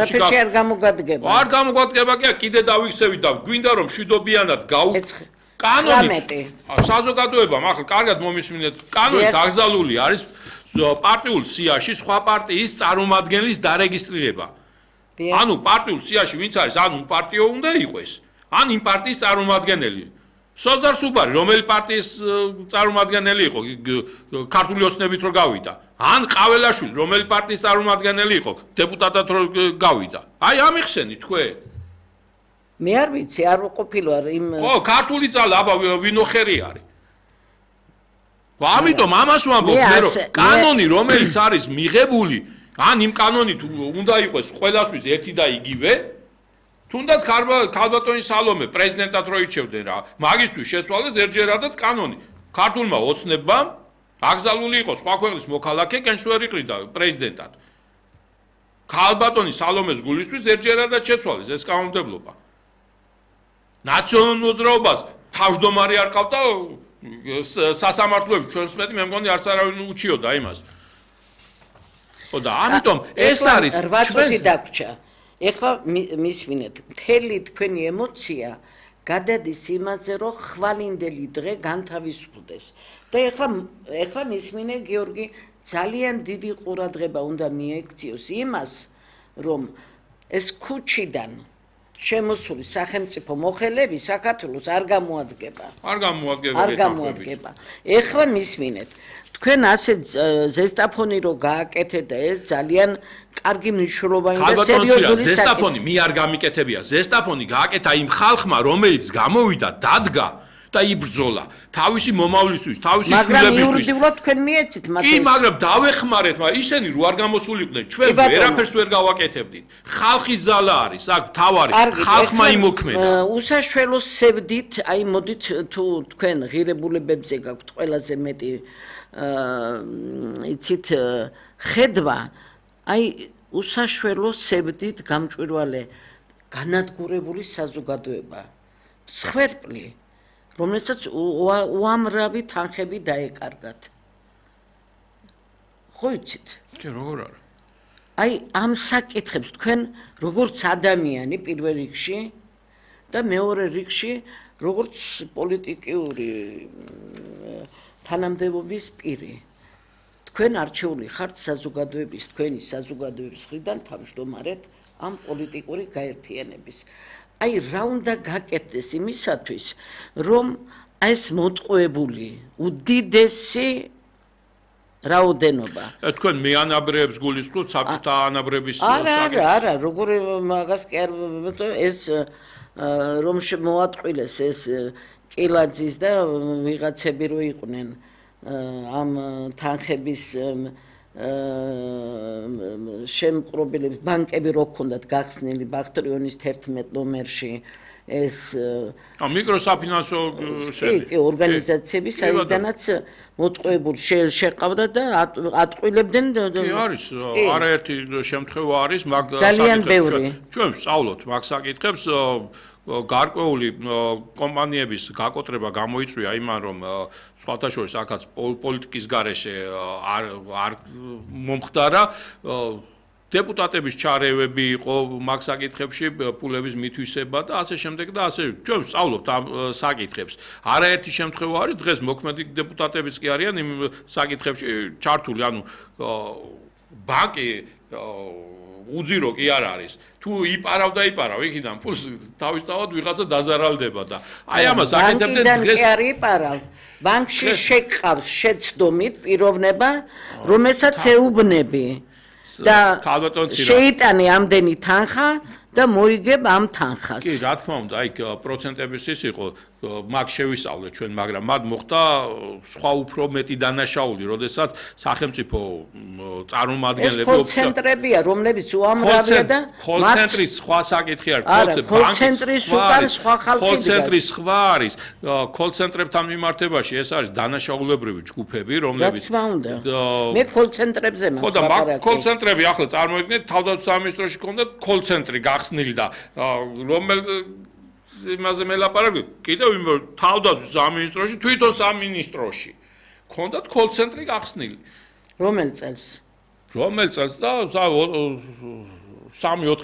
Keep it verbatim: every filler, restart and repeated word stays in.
არაფერში არ გამოგადგება. არ გამოგადგება კი კიდე დავიქცევით და გვინდა რომ მშვიდობიანად გავუ კანონით საზოგადოებამ ახლა კარგად მომისმინეთ კანონით აკრძალული არის პარტიულ სიაში სხვა პარტიის წარმომადგენლის დარეგისტრირება. ანუ პარტიულ სიაში ვინც არის ან პარტიო უნდა იყოს ან იმ პარტიის წარმომადგენელი. სოზარ სუბარი რომელი პარტიის წარმომადგენელი იყო ქართული ოცნებით რო გავიდა ან ყაველაშვილი რომელი პარტიის წარმომადგენელი იყო დეპუტატად რო გავიდა. აი ამიხსენით თქვენ. მე არ ვიცი არ ყოფილა იმ ხო ქართული ძალა აბა ვინოხერი არის. ამიტომ ამას ვამბობ მე რომ კანონი რომელიც არის მიღებული ან იმ კანონით უნდა იყოს ყველასთვის ერთი და იგივე თუნდაც ქალბატონი სალომე პრეზიდენტად რო ირჩევდნენ რა მაგისთვის შეცვალეს ერთჯერადად კანონი ქართულმა ოცნებამ აკრძალული იყო სხვა ქვეყნის მოქალაქე კენშვერი ყრიდა პრეზიდენტად ქალბატონი სალომეს გულისთვის ერთჯერადად შეცვალეს ეს კანონმდებლობა ნაციონალურ მოძრაობას თავმჯდომარე არ ყავდა სასამართლოებში ჩვენს მეტი მე მგონი არც არავინ უჩიოდა იმას ხო და ამიტომ ეს არის ჩვენი დაგვრჩა ეხლა მისმინეთ მთელი თქვენი ემოცია გადადის იმაზე რომ ხვალინდელი დღე განთავისუფლდეს და ეხლა ეხლა მისმინე გიორგი ძალიან დიდი ყურადღება უნდა მიექციოს იმას რომ ეს ქუჩიდან შემოსული სახელმწიფო მოხელები საქართველოს არ გამოადგება. არ გამოადგება. არ გამოადგება. ეხლა მისმინეთ. თქვენ ასე ზესტაფონი რო გააკეთეთ და ეს ძალიან კარგი მნიშვნელოვანი და სერიოზული ზესტაფონი მე არ გამიკეთებია. ზესტაფონი გააკეთა იმ ხალხმა, რომელიც გამოვიდა, დადგა და იბრძოლა თავისი მომავლისთვის, თავისი შვილებისთვის. მაგრამ იურიდიულად თქვენ მიეცით მათ. კი, მაგრამ დავეხმარეთ, მაგრამ ისინი რო არ გამოსულიყვნენ, ჩვენ ვერაფერს ვერ გავაკეთებდით. ხალხის ზალა არის, აქ თავარი ხალხმა იმოქმედა. უსაშველო სევდით, აი მოდით თუ თქვენ ღირებულებებზე გაქვთ ყველაზე მეტი იცით ხედვა, აი უსაშველო სევდით გამჭვირვალე განადგურებული საზოგადოება. მსხვერპლი რომელსაც უამრავი თანხები დაეკარგათ. ხო იცით? კი, როგორ არა? აი ამ საკითხებს თქვენ როგორც ადამიანი პირველ რიგში და მეორე რიგში როგორც პოლიტიკური თანამდებობის პირი. თქვენ არჩეული ხართ საზოგადოების, თქვენი საზოგადოების მხრიდან თავმჯდომარედ ამ პოლიტიკური გაერთიანების. აი რა უნდა გაკეთდეს იმისათვის რომ ეს მოტყუებული უდიდესი რაოდენობა თქვენ მეანაბრეებს გულისხმობთ საბჭოთა ანაბრების არა არა არა როგორ მაგას კი არ ეს რომ მოატყვილეს ეს კილაძის და ვიღაცები რო იყვნენ ამ თანხების შემყრობილების ბანკები რო ქონდათ გახსნილი ბახტრიონის თერთმეტ ნომერში ეს მიკროსაფინანსო კი ორგანიზაციები საიდანაც მოტყუებული შეყავდა და ატყვილებდნენ კი არის არაერთი შემთხვევა არის მაგ ძალიან ბევრი ჩვენ ვსწავლოთ მაგ საკითხებს გარკვეული კომპანიების გაკოტრება გამოიწვია იმან რომ სხვათა შორის აქაც პოლიტიკის გარეშე არ არ მომხდარა დეპუტატების ჩარევები იყო მაგ საკითხებში პულების მითვისება და ასე შემდეგ და ასე ჩვენ ვსწავლობთ ამ საკითხებს არაერთი შემთხვევა არის დღეს მოქმედი დეპუტატებიც კი არიან იმ საკითხებში ჩართული ანუ ბანკი უძირო კი არ არის თუ იპარავ და იპარავ იქიდან ფულს თავისთავად ვიღაცა დაზარალდება და აი ამას აკეთებდნენ დღეს კი არ იპარავ ბანკში შეკყავს შეცდომით პიროვნება რომელსაც ეუბნები და შეიტანე ამდენი თანხა და მოიგებ ამ თანხას კი რა თქმა უნდა აი პროცენტების ის იყო მაგ შევისწავლეთ ჩვენ მაგრამ მათ მოხდა სხვა უფრო მეტი დანაშაული როდესაც სახელმწიფო წარმომადგენლები ეს კოლცენტრებია რომლებიც უამრავია და კოლცენტრის სხვა საკითხი არის კოლცენტრის უკან სხვა ხალხი კოლცენტრის სხვა არის კოლცენტრებთან მიმართებაში ეს არის დანაშაულებრივი ჯგუფები რომლებიც რა თქმა უნდა მე კოლცენტრებზე მაქვს ხო და მაგ კოლცენტრები ახლა წარმოიდგინეთ თავდაცვის სამინისტროში ქონდა კოლცენტრი გახსნილი და რომელ იმაზე მელაპარაკე კიდევ იმ თავდაცვის სამინისტროში თვითონ სამინისტროში ქონდათ კოლცენტრი გახსნილი რომელ წელს რომელ წელს და სამი ოთხი